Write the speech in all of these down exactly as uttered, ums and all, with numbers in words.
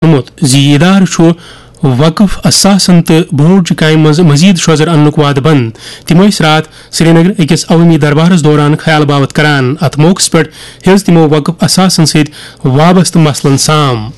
ووٚنمُت زِ یہِ ادارٕ چھُ وقف اثاثن تہٕ بورڈچہِ کامہِ منٛز مزید شوزر اننُک وعدٕ بنٛد۔ تِم ٲسۍ راتھ سرینگر أکِس عوٲمی دربارس دوران خیال باوت کران۔ اتھ موقعس پٮ۪ٹھ ہیٚژ تِمو وقف اثاثن سۭتۍ وابستہٕ مسلن سام۔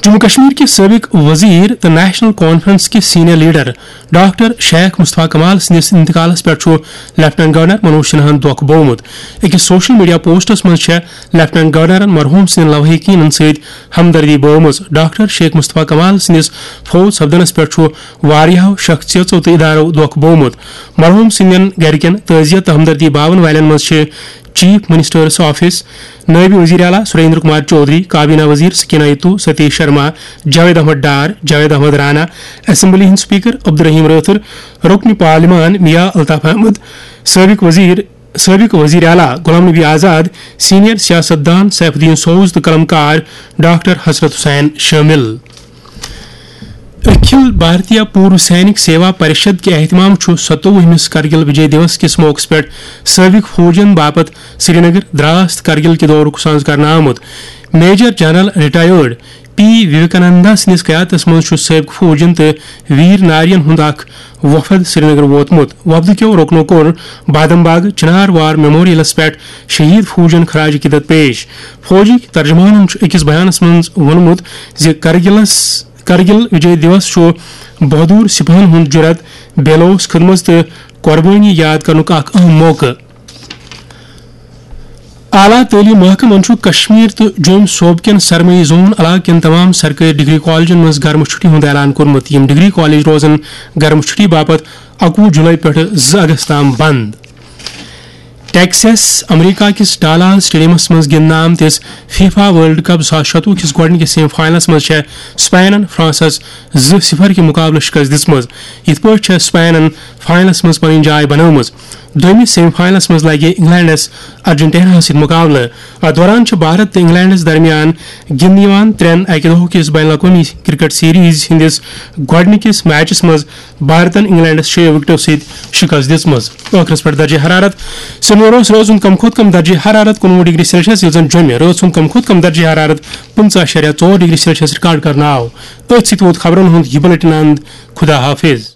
جموں کشمیر کہِ سٲبق وزیر تہٕ نیشنل کانفرنس کہِ سینئر لیڈر ڈاکٹر شیخ مصطفیٰ کمال سٕنٛدِس انتقالس پٮ۪ٹھ چھُ لیفٹیننٹ گورنر منوج سنہاہن دۄکھ بوومُت۔ أکِس سوشل میڈیا پوسٹس منٛز چھےٚ لیفٹیننٹ گورنرن مرحوم سٕنٛدٮ۪ن لواحقینن سۭتۍ ہمدردی بٲومٕژ۔ ڈاکٹر شیخ مصطفیٰ کمال سٕنٛدِس فوت سپدنس پٮ۪ٹھ چھُ واریاہو شخصیژو تہٕ ادارو دۄکھ بوومُت۔ مرحوم سٕنٛدٮ۪ن گرِکٮ۪ن تعزیت تہٕ ہمدردی باون والٮ۪ن منٛز چھِ چیف منسٹرس آفس، نائب وزیر اعلیٰ سریندر کمار چودھری، کابینہ وزیر سکینہ ایتو، ستیش شرما، جاوید احمد ڈار، جاوید احمد رانا، اسمبلی ہٕنٛدۍ اسپیکر عبدالرحیم رٲتھر، رکن پارلیمان میاں الطاف احمد، سٲبق وزیر سٲبق وزیر اعلیٰ غلام نبی آزاد، سینئر سیاست دان سیف الدین سوز تہٕ قلم کار ڈاکٹر حضرت حسین شٲمِل۔ اکھل بھارتیہ پورو سینک سیوا پرشد کہِ اہتمام چھُ ستووُہمِس کرگل وجے دیوس کِس موقعس پٮ۪ٹھ سٲبق فوجن باپتھ سرینگر، دراس تہٕ کرگل کہِ دورُک سانز کرنہٕ آمُت۔ میجر جنرل ریٹائرڈ پی وویکانندا سٕنٛدِس قیادتس منٛز چھُ سٲبقہٕ فوجن تہٕ ویر نارین ہُنٛد اکھ وفد سرینگر ووتمُت۔ وفدٕ کیو رُکنو کوٚر بادم باغ چنار وار میموریلس پٮ۪ٹھ شہید فوجن خراج عقیدت پیش۔ فوجٕکۍ ترجمانن چھُ أکِس بیانس منٛز ووٚنمُت زِ کرگلس کرگل وجے دیوس چھُ بہادر سپاہن ہُنٛد جرأت، بے لوث خدمت تہٕ قربٲنی یاد کرنُک اکھ اہم موقعہٕ۔ اعلیٰ تعلیٖم محکمن چھُ کشمیر تہٕ جوٚم صوبہٕ کٮ۪ن سرمایہِ زون علاقہٕ کٮ۪ن تمام سرکٲرۍ ڈگری کالجن منٛز گرمہٕ چھُٹی ہُنٛد اعلان کوٚرمُت۔ یِم ڈگری کالج روزن گرمہٕ چھُٹی باپتھ اَکوُہ جولائی پٮ۪ٹھٕ زٕ اگست تام بنٛد۔ ٹیکساس، امریکہ کِس ڈالاس سٹیڈیمس منٛز گِنٛدنہٕ آمتِس فیفا ورلڈ کپ زٕ ساس شتوُہ کِس گۄڈٕنِکِس سیمی فاینلس منٛز چھےٚ سپینن فرانسس زٕ صفر کہِ مقابلہٕ شکست دِژمٕژ۔ یِتھ پٲٹھۍ چھےٚ سپینن فاینلس منٛز پنٕنۍ جاے بنٲومٕژ۔ دوٚیمِس سیمی فاینلس منٛز لگہِ انگلینڈس ارجنٹیناہس سۭتۍ مقابلہٕ۔ اتھ دوران چھُ بھارت تہٕ انگلینڈس درمیان گِنٛدنہٕ یِوان ترٛٮ۪ن اکہِ دۄہ کِس بین الاقوٲمی کرکٹ سیریز ہٕنٛدِس گۄڈٕنِکِس میچس منٛز بھارتن انگلینڈس شیٚیو وکٹو سۭتۍ شکست دِژمٕژ۔ ٲخرس پٮ۪ٹھ درجہ حرارت۔ سرینگرس رٲژ ہُنٛد کم کھۄتہٕ کم درجہ حرارت کُنوُہ ڈگری سیلسیس، یوٚت زن جوٚمہِ رٲژ ہُنٛد کم کھۄتہٕ کم درجہ حرارت پٕنٛژٕہ اَشاریہ ژور ڈگری سیلسیس ریکارڈ کرنہٕ آو۔ أتھۍ سۭتۍ ووت خبرن ہُنٛد یہِ بلیٹن اند۔ خدا حافظ۔